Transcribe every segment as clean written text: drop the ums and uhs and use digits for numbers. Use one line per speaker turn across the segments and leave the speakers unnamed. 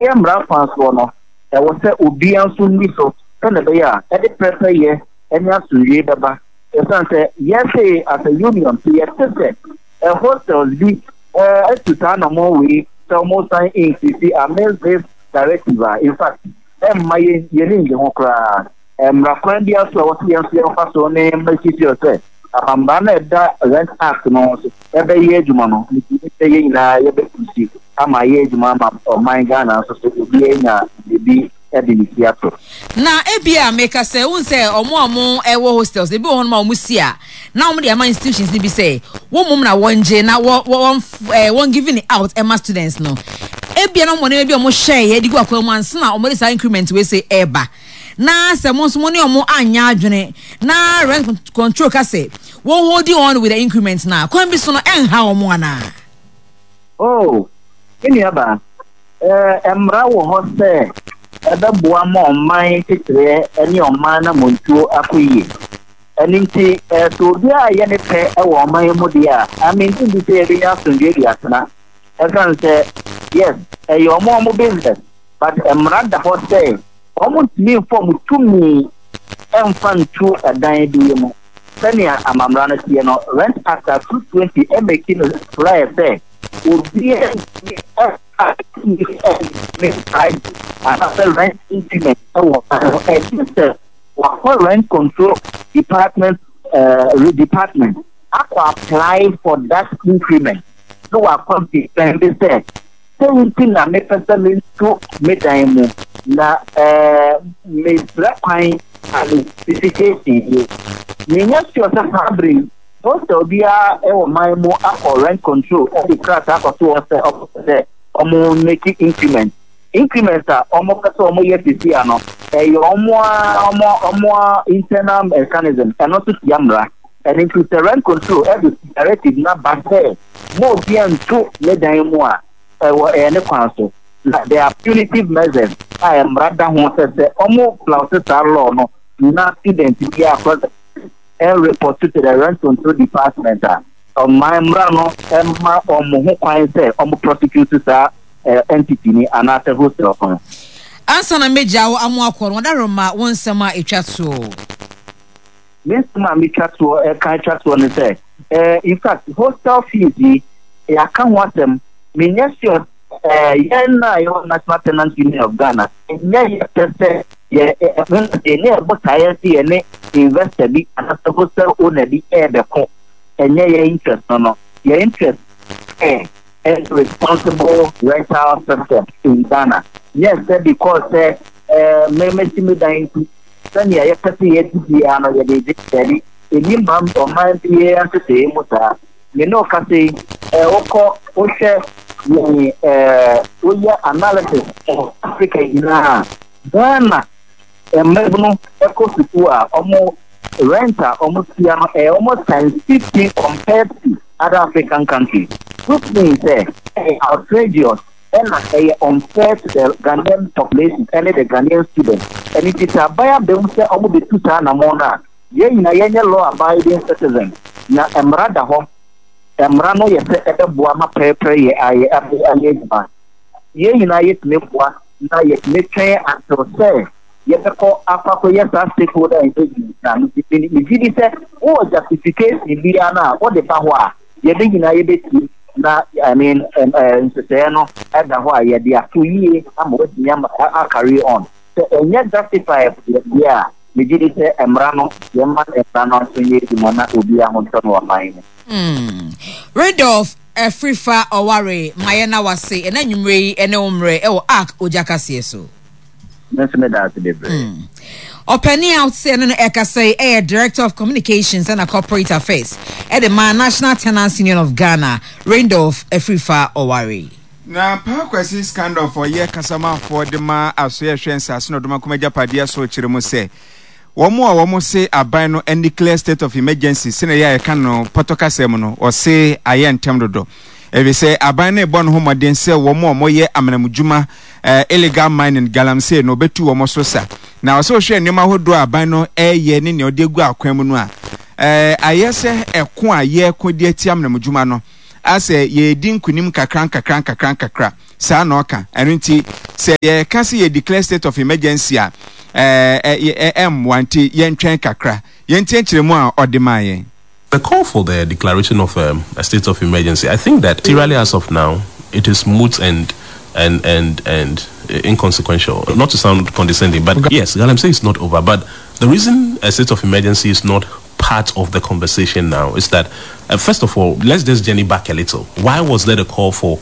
Yɛn mmara kwan soɔ no, ɛwɔ sɛ obiara nso nni so sɛdeɛ ɛbɛyɛ a ɛde pɛrɛpɛyɛ ne asomdwoeɛ bɛba. Ɛsiane sɛ yɛse as a union, sɛ yɛte sɛ hostels bi atu saa anamɔn wei sɛ wɔresan increase amidst this directive a, in fact, ɛmma yɛn yɛn ani nnye ho koraa. Mmara kwan biara so a ɛwɔ sɛ yɛn nso yɛmfa so ne make sure sɛ amambra no a ɛda Rent Act no so ɛbɛyɛ adwuma no, megye di sɛ yɛn nyinaa yɛbɛpusi ama ayɛ adwuma ama ɔman Ghana nso so obiara anya biribi de ne ti ato.
Na ebia meka sɛ, wohu sɛ wɔn a wɔwɔ hostels, ebi wɔ hɔnom a wɔsi a, na wɔde ama institutions no bi sɛ wɔn mmom na wɔngye na wɔ wɔ wɔn eh, wɔn giving it out ɛma students no. Ebia na wɔn nneɛma bi a wɔhyɛeɛ de gu akwan mu ansa na wɔde saa increment wei se ɛreba. Na sɛ mo nso mo ne wɔn anyɛ adwene na rent control ka sɛ wɔn holding on with the increment na kwan bi so no ɛnha wɔn anaa?
Oh, me nuabaa, eh, mmara wɔ hɔ sɛ ɛbɛboa ma ɔman nkyekyereɛ ne ɔman anammɔntuo akɔ yie. Ɛno nti, eh, sɛ obiara yɛ ne pɛ wɔ ɔman yi mu deɛ a, ah, mennye nni sɛ yɛbɛnya asomdwoeɛ de atena. Ɛsiane sɛ, yes, ɛyɛ wɔn wɔn business, but mmara da hɔ sɛ wɔntumi mfa wɔn tumi mfa ntu ɛdan bi mu. Sɛnea amammara no teɛ no, Rent Act a 220 make no clear sɛ obiara ntumi mfa tumi ntumi price anaasɛ rent increment wɔ man ho gye sɛ wakɔ Rent Control Department eh, department akɔ apply for that increment na wakɔ defend sɛ Sei nti na mepɛ sɛ metu me dan mu, na mesrɛ kwan qualification yi. Menyɛ sure sɛ saa bere yi hostel biara wɔ man mu akɔ rent control de krataa akɔto hɔ sɛ wɔpɛ sɛ wɔn make increment. Increment a wɔpɛ sɛ wɔyɛ seesei ano, ɛyɛ wɔn ara wɔn wɔn internal mechanism, ɛno nso tia mmara. Ɛno nti sɛ rent control de directive no aba sɛ ma obiara ntu ne dan mu a, ɛwɔ ɛyɛ ne kwan so. Na there are punitive measures a mmara da ho sɛ sɛ wɔn flout saa law no na student biara akɔ report to the rent control department a, ɔman mmara no ma wɔn ho kwan sɛ wɔn prosecute saa entity ni anaasɛ hostel no.
Ansa na mɛgya wo amo akɔ no, wɔda rema wo nsɛm a ɛtwa toɔ.
Me nsɛm a metwa toɔ ɛka atwa toɔ ne sɛ, eh, in fact, hostel fees yi, yɛaka ho asɛm, menyɛ sure eh, yɛn a yɛwɔ National Tenant Union of Ghana, ɛnyɛ yɛ pɛ sɛ yɛ yɛnyɛ yɛ botaeɛ sɛ yɛne investor bi anaasɛ hostel owner bi ɛrebɛko, ɛnyɛ yɛn interest no no, yɛn interest ɛ ɛne responsible rental system in Ghana, nyɛ sɛ because sɛ eh, me mesi me dan nti sɛnea yɛpɛ sɛ yɛdi biara no yɛde gye. Dabi, enni man ɔman biara nhyehyɛe mu saa. Me ne wo kasa yi, eh, wokɔ wohwɛ yɛn eh, woyɛ analysis wɔ Africa nyinaa a, Ghana mmabunu kɔ sukuu a, wɔn rent a wɔtua no ɛyɛ almost times 15 compared to other African countries, which means sɛ ɛyɛ outrageous. Ɛna ɛyɛ unfair to the Ghanaian population ɛne the Ghanaian students. Ɛno nti sɛ aban aba mu sɛ ɔmo bɛtu saa anamɔn no a, yɛn nyinaa yɛnyɛ law abiding citizens. Na mmara da hɔ. Mmara no yɛ sɛ ɛbɛboa ma pɛrɛpɛrɛ yɛ ayɛ ayɛ adwuma. Yɛn nyinaa yɛtumi boa na yɛtumi twɛn until sɛ yɛbɛkɔ akɔ akɔyɛ saa stakeholder engagement no a, megye di sɛ wowɔ justification biara no a wode ba hɔ a, yɛn nyinaa yɛbɛtie na I mean nhyehyɛeɛ no da hɔ a yɛde ato yie ama watumi ama a carry on. Sɛ ɛnyɛ justified deɛ a, megye di sɛ mmara no yɛmma mmara no nso nyɛ adwuma na obiara ho ntɔ no wɔ man mu.
Hmm. Rudolph Afrifa Ɔware, ma yɛnna wo ase ɛna anwummerɛ yi ne wo mmerɛ wɔ Ark Ogya Kaseɛ so.
Me nso meda ase bebree.
Hmm. Ɔpanin a wote sɛ ɛne no ɛkasa yi ɛyɛ Director of Communications ɛna Corporate Affairs ɛde ma National Tenants Union of Ghana, Randolph Afrifa Ɔware.
Na Paa Kwasi Scandorf ɔyɛ kasamafoɔ de ma Asoɛe Ɛhwɛ Nsase ne Ɔdomankoma Agyapadeɛ so kyerɛ mu sɛ wɔn a wɔn se aban no declare state of emergency sɛnea ɛyɛ a yɛka no pɔtɔ kasa mu no wɔse ayɛ ntɛm dodo efisɛ aban no rebɔ ne ho mmɔden sɛ wɔn a wɔyɛ amanamudwuma eh, illegal mining galamsey no wɔbɛtu wɔn so sa na ɔsɛ wohwɛ nneɛma ahodoɔ a aban no ɛreyɛ ne nea ɔde agu akwan mu no a eh, ayɛ sɛ ɛko a yɛreko de atia amanamudwuma no asɛ yɛredi nkunim nkakra nkakra nkakra nkakra. Saa na ɔka. Ɛno nti, sɛ yɛka sɛ yɛ declare state of emergency a, ɛɛ ɛmmoa nti yɛntwɛn kakra. Yɛntie nkyerɛmu a ɔde maa yɛn.
The call for the declaration of um, a state of emergency, I think that materially as of now, it is moot and and and and inconsequential. Not to sound condescending, but yes, Galamsey is not over. But the reason a state of emergency is not part of the conversation now is that, uh, first of all, let's just journey back a little. Why was there a call for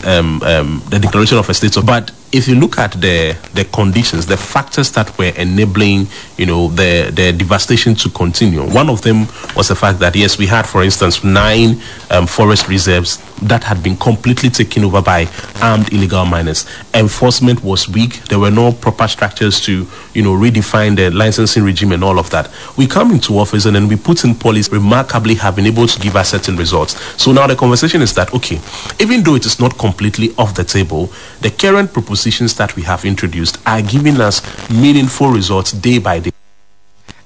um, um, the declaration of a state of? But if you look at the the conditions, the factors that were enabling, you know, the the devastation to continue, one of them was the fact that yes, we had, for instance, nine um, forest reserves that had been completely taken over by armed illegal miners. Enforcement was weak. There were no proper structures to, you know, redefine the licensing regime and all of that. We come into office and then we put in policy remarkably have been able to give us certain results. So now the conversation is that, okay, even though it is not completely off the table, the current propositions that we have introduced are giving us meaningful results day by day.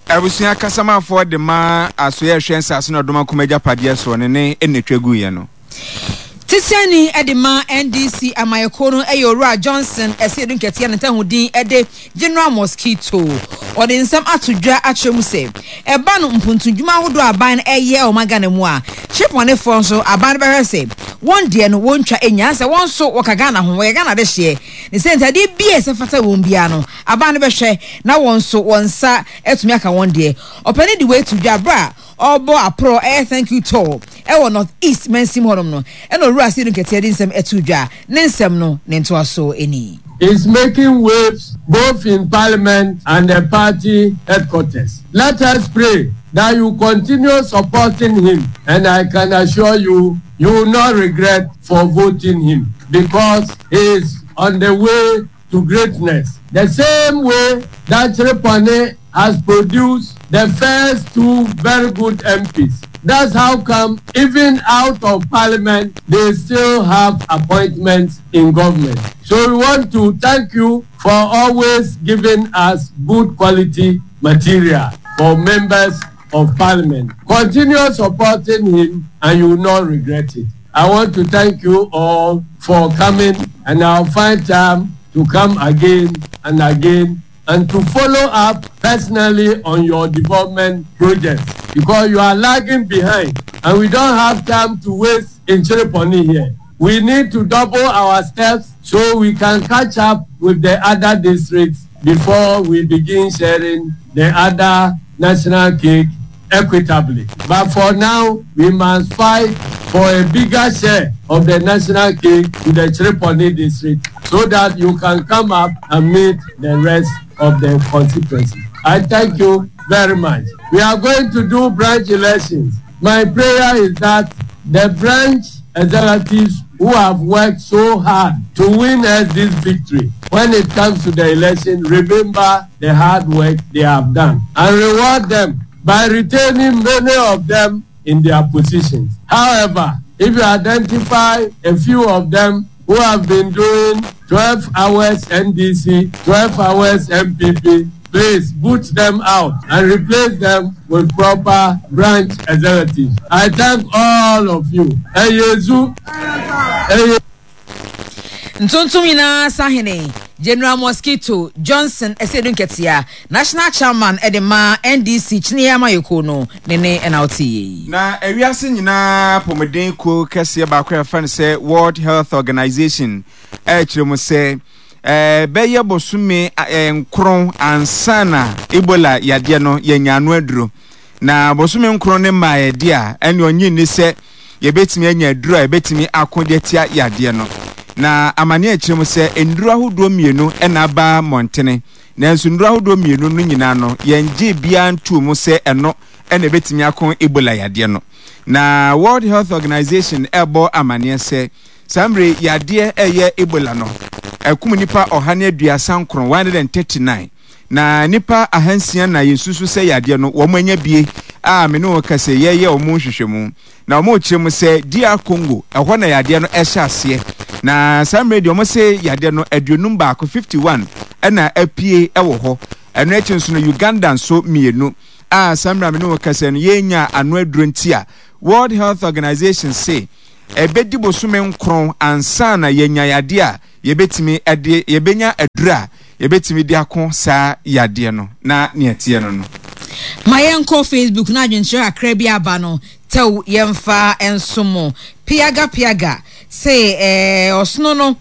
Abusua kasamafoɔ de ma asoeɛ ɛhwɛ nsase ne ɔdom akoma agyapadeɛ soɔ no ne nna twa guiɛ no.
Titenani de ma NDC amayɛkuo no yɛ Owura Johnson Asiedu Nketia ne ntahu din de General Mosquito. Ɔde nsɛm ato dwa akyerɛ mu sɛ ɛba no mpuntudwuma ahodoɔ a aban no ɛyɛ wɔ ɔman Ghana mu a, kyerepɔnefoɔ nso aban no bɛhwɛ sɛ wɔn deɛ no wɔntwa nnya sɛ wɔn nso wɔka Ghana ho, wɔyɛ Ghana adehyeɛ. Ne sɛ nti adeɛ bi a ɛsɛ fata wɔn biara no aban no bɛhwɛ na wɔn nso wɔn nsa atumi aka wɔn deɛ. Ɔpanin de wei to dwa berɛ a ɔrebɔ aporɔ ɛyɛ Thank You Tour ɛwɔ North East mansin mu hɔnom no ɛna Owura Asiedu Nketia de nsɛm ɛtoo dwa. Ne nsɛm no ne ntoasoɔ ni.
Is making waves both in parliament and the party headquarters. Let us pray that you continue supporting him and I can assure you, you will not regret for voting him because he is on the way to greatness. The same way that Chereponi has produced the first two very good MPs. That's how come even out of parliament, they still have appointments in government. So we want to thank you for always giving us good quality material for members of parliament. Continue supporting him and you will not regret it. I want to thank you all for coming and I'll find time to come again and again and to follow up personally on your development projects because you are lagging behind and we don't have time to waste in Chereponi here. We need to double our steps so we can catch up with the other districts before we begin sharing the other national cake equitably. But for now, we must fight for a bigger share of the national cake to the Chereponi district so that you can come up and meet the rest of the constituency. I thank you very much. We are going to do branch elections. My prayer is that the branch executives who have worked so hard to win us this victory, when it comes to the election, remember the hard work they have done and reward them by retaining many of them in their positions. However, if you identify a few of them who have been doing 12 hours NDC, 12 hours MPP, please boot them out and replace them with proper branch executives. I thank all of you. Eyezu. Eye.
Ntontom nyinaa sahene, General Mosquito Johnson Asiedu Nketia, National Chairman de ma NDC Kyiniiɛ Amayɛkuo no, ne ne na wote yei.
Na ewiase nyinaa apɔmuden kuo kɛseɛ baako a yɛfrɛ no sɛ World Health Organization ɛrekyerɛ mu sɛ ɛbɛyɛ bosome nkron ansa na Ebola yadeɛ no yɛanya ano aduro. Na bosome nkron no mmaeɛ deɛ a, ɛnneɛ ɔnnye nni sɛ yɛbɛtumi anya aduro a ɛbɛtumi ako de atia yadeɛ no. Na amaneɛ rekyerɛ mu sɛ nnuro ahodoɔ mmienu na aba mmɔntene, nanso nnuro ahodoɔ mmienu no nyinaa no, yɛngyee biara ntoo mu sɛ ɛno na ɛbɛtumi ako Ebola yadeɛ no. Na World Health Organization rebɔ amaneɛ sɛ saa mmerɛ yi yadeɛ ɛyɛ Ebola no akum nnipa 139, 139. Na nnipa ahansia na yɛsusu sɛ yadeɛ no wɔn anya bie a me ne wo kasa yi yɛreyɛ wɔn nhwehwɛmu. Na wɔn rekyerɛ mu sɛ DR Congo ɛhɔ na yadeɛ no ɛhyɛ aseɛ. Na saa mmerɛ deɛ wɔn se yadeɛ no 51, 51, ɛna apue ɛwɔ hɔ. Ɛno akyi nso no Uganda nso mmienu a saa mmerɛ a me ne wo kasa no yɛnnya ano aduro nti a World Health Organization se. ɛbɛdi bosome nkron ansa na yɛanya yadeɛ a yɛbɛtumi de, yɛbɛnya aduro a yɛbɛtumi de ako saa yadeɛ no, na nea ɛteɛ no no.
Ma yɛnkɔ Facebook na adwenkyerɛ kakra bi aba no tɛw yɛmfa nso mo. Piaga Piaga se eh, ɔsono no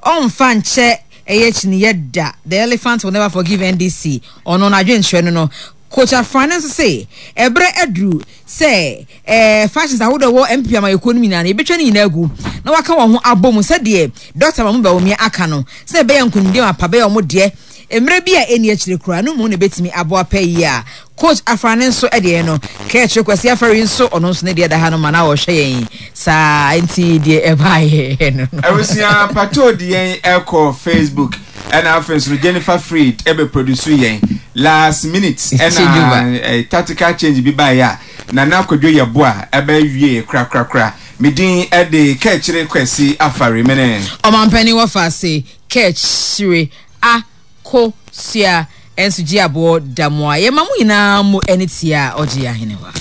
ɔmfa nkyɛ ɛyɛ kyiniyɛ da, the elephant will never forgive NDC, ɔno n'adwenkyerɛ no no. Coach Afrane nso se ɛberɛ aduru sɛ eh, factions ahodoɔ ɛwɔ NPP amanyɔkuo no nyinaa no yɛbɛtwa ne nyinaa agu na wɔaka wɔn ho abɔ mu sɛdeɛ Dɔkta Mahmoud Bawumia aka no sɛ ɛbɛyɛ nkonimdie mapa bɛyɛ wɔn deɛ mmerɛ bi a ɛnni akyire koraa no mu na ɛbɛtumi aboa pɛ yie a Coach Afrane nso deɛ no Kɛkyere Kwasi Afari nso ɔno nso ne deɛ da ha no ma na ɔhwɛ yɛn saa nti deɛ ɛbaeɛ no no.
Abusua Pato de yɛn ɛkɔ Facebook ɛna afei nso no Jennifer Freed ɛbɛ produce yɛn last minute ɛna eh, tactical change bi baeɛ a Nana Kwadwo Yeboah ɛbɛ wie korakorakora. Me din ɛde Kɛkyere Kwasi Afari mene.
Ɔmanpanin wɔfa ase Kɛkyere a ko sua nso gye aboɔ da mo a yɛma mo nyinaa mo ani tia a ɔgye ahenewa.